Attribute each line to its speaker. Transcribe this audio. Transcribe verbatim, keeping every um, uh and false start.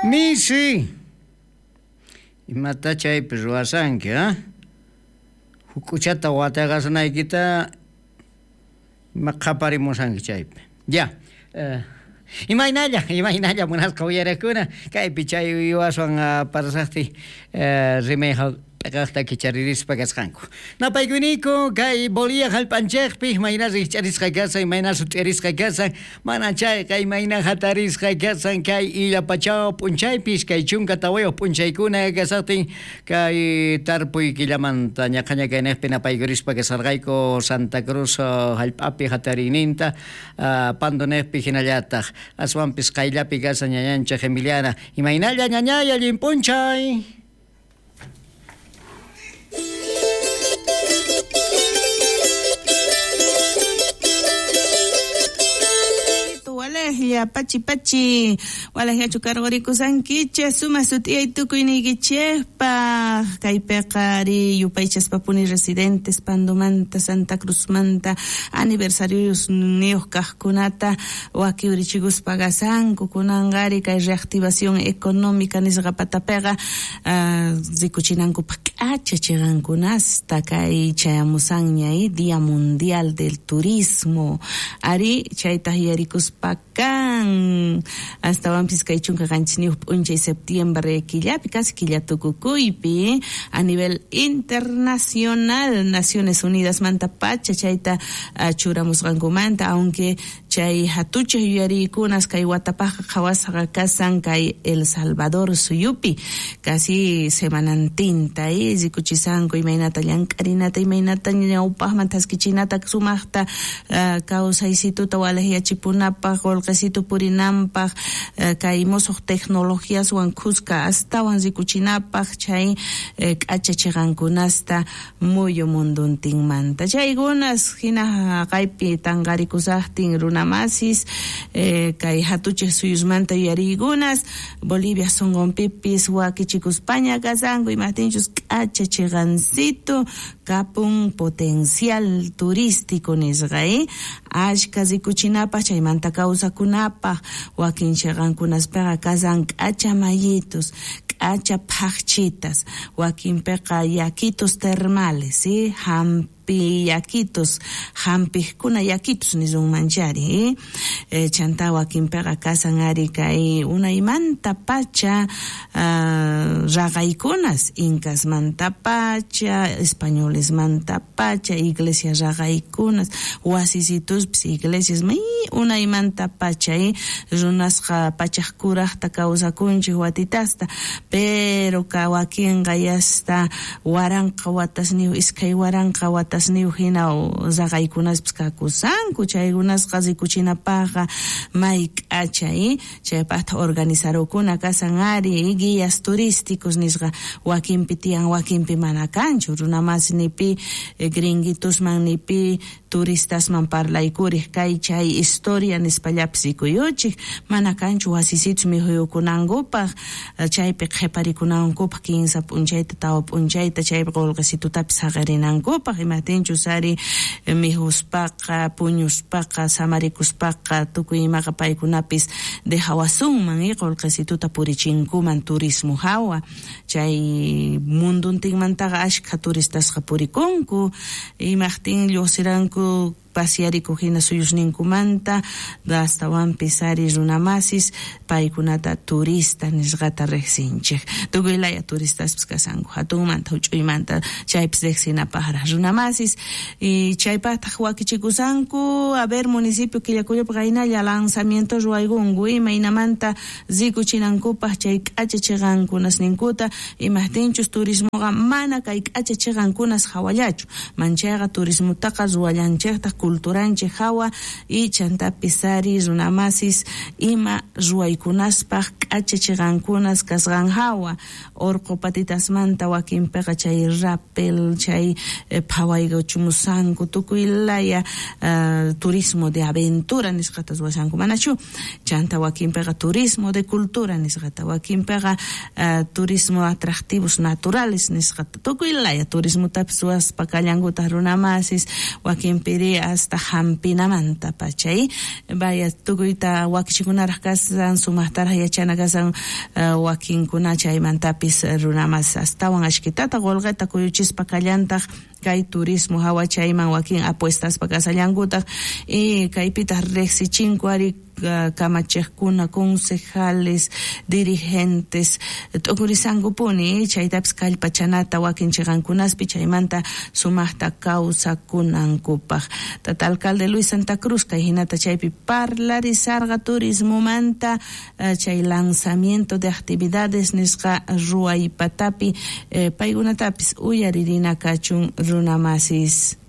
Speaker 1: Misi, imata chaypi ruwasanki, ha? Huk'uchata wataqasnaykita ima qhaparimusanki chaypi. Ya. Uh, imaynalla, imaynalla munasqa uyarakuna kaypi chay uywaswan uh, parasaqti uh, rimayqa t'aqaqta kicharirispa kasqanku. Napaykuniku kay Bolivia hallp'anchikpi imayna rikch'arisqa kasan, imayna sut'irisqa kasan, mana chayqa imayna hatarisqa kasan kay illapachaw p'unchaypis kay chunka tawayuq p'unchaykuna kasaqtin kay tarpuy killamanta ñaqaña kayniqpi napaykurispa kasarqayku Santa Cruz hallp'api hatariyninta uh, Pandoniqpi hinallataq aswanpis qayllapi kasan ñañanchik Emiliana. Imaynalla ñañay, allin p'unchay.
Speaker 2: Walejlla, pachi pachi, walejlla chukarqurikusankichej, suma sut'iyay tukuyniykichejpaj, kaypiqa ari yupaychaspapuni residentes Pandomanta, Santa Cruzmanta, aniversarios niyuq kaqkunata wakiwrichikuspa kasanku, kunanqa ari kay reactivación económica nisqa patapiqa uh, rikuchinankupaq k'acha chiqankunasta kay chayamusanña Día Mundial del Turismo, ari chaytaq yarikuspa kan astawanpis kay chunka qanchisniyuq p'unchay septiembre killapi casi killa tukukuypi a nivel internacional Naciones Unidas manta pacha chayta uh, churamusqankumanta, aunque chay hatuchej yuyariykunas kay watapaqqa qhawasqa kasan kay El Salvador suyupi casi semanantinta eh, rikuchisanku imaynata llank'arinata imaynata ñawpaqman thaskichinata sumaqta uh, kawsaysituta walejyachipunapaq qullqisitu purinanpaq uh, kay musuq tecnologiaswan khuska astawan rikuchinapaq chay eh, k'acha chiqankunasta muyu munduntinmanta chaykunas hina haqaypi tanqarikusaqtin runamasis eh, kay hatuchej suyusmanta yuyariykunas Bolivia sunqunpipis wakichikuspaña kasanku imaqtinchus k'acha chiqansito kapun potencial turístico nisqa eh? Ashka rikuchinapaq chaymanta kawsakunapaq wakin chiqankunaspiqa kasan k'acha mayitus k'acha phaqchitas wakinpiqa yakitos termales ¿sí? Hampi yakitos hampijkuna yakitos nisunmanchari eh? Eh, chanta wakinpiqa kasan ari kay unaymanta pacha uh, raqaykunas incasmanta pacha españolesmanta pacha iglesia raqaykunas wasisituspis iglesias may unaymanta pacha eh? Runasqa pachaq kuraqta kawsakunchik watitasta pero ka wakinqa yasta waranqa watasniyuq iskay waranqa watasniyuq hina raqaykunaspis kakusanku chaykunasqa rikuchinapaqqa may k'acha eh? Chaypaqta organizarukuna kasan ari guías turísticos nisqa wakinpi tiyan wakinpi mana kanchu runamasi nipi eh, gringuitusman nipi turistasman parlaykurij kay chay historia nispallapis rikuyuchik mana kanchu wasisitus mikhuyukunankupaq chaypi qhiparikunankupaq kinsa p'unchayta tawa p'unchayta chaypi qullqisitutapis saqirinankupaq imaqtinchus ari mikhuspaqa puñuspaqa samarikuspaqa tukuy imaqa paykunapis dejawasunman eh, qullqisituta purichinkuman turismo hawa chay munduntinmantaqa ashkha turistasqa purikunku imaqtin lluqsiranku pasiarikuq hina suyusninkumanta astawanpis ari runamasis paykunata turista nisqata riqsinchik tukuy laya turistaspis kasanku hatunmanta huch'uymanta chaypis riqsinapaqraq runamasis y chaypaqtaq wakichikusanku a ver municipio Quillacollopi qaynalla lanzamiento ruwaykunku imaynamanta rikuchinankupaq chay k'acha chiqankunasninkuta imaqtinchus turismoqa mana kay k'acha chiqankunas hawallachu manchayqa turismotaqa ruwallanchiktaq culturanchik hawa y chantapis ari runamasis ima ruwaykunaspaq k'acha chiqankunas kasqan hawa urqu patitasmanta wakinpiqa chay rappel chay eh, phawaykuchumusanku tukuy laya uh, turismo de aventura nisqata ruwashanku manachu chanta wakinpiqa turismo de cultura nisqata wakinpiqa uh, turismo atractivos naturales nisqata tukuy laya turismotapis ruwaspa kallankutaq runamasis wakinpiri Hasta hampinamanta pachay vaya tukuyta wakichikunaraj kasan sumajtaraj yachana kasan uh, wakinkuna chaymantapis runamas astawan ashkitata qolqeta kuyuchispa kallantaj kay turismo hawa chayman wakin apuestaspa kasallankutaq y kaypitaq riqsichinku ari kamachejkuna concejales dirigentes t'ukurisankupuni chaytapis kallpachanata wakin chiqankunaspi chaymanta sumaqta kawsakunankupaq. Tata alcalde Luis Santa Cruz kay hinata chaypi parlarisarqa turismomanta chay lanzamiento de actividades nisqa ruwaypatapi eh, paykunatapis uyaririna kachun runamasis.